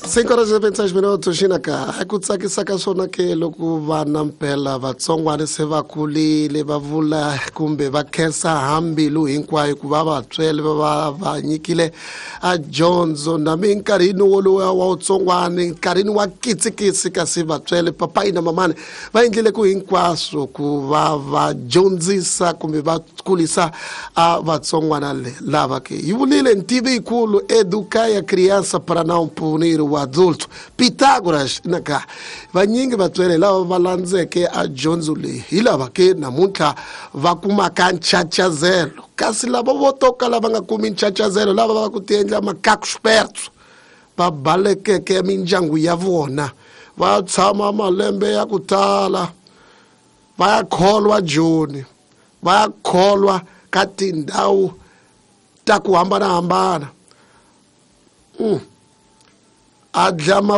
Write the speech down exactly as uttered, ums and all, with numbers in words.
Cinco horas e vinte e seis minutos xinaka a ku tsakisa ka swona ke loko vana mpela vatsongwana se va kulile va vula kumbe va khensa hambilu hinkwayo ku va vatswele va va va nyikile a dyondzo na minkarhini wolowo wa wutsongwani nkarhini wa kitsikitsi kasi vatswele papayi na mamani va endlile ku hinkwaswo ku va va dyondzisa kumbe va kulisa a vatsongwana lava ke yi vulile ntivi yikulu educa a criança para não punir o adulto Pitágoras naka vanyingi vatswele lava va landzeke a dyondzo leyi hi lava ke namuntlha va kumaka nchachazelo kasi lava vo to kala va nga kumi nchachazelo lava va ku tiendla makaku va balekeke mindyangu ya vona va tshama malembe ya ku tala va ya kholwa joni va ya kholwa ka tindhawu ta ku hambanahambana mm. A dlama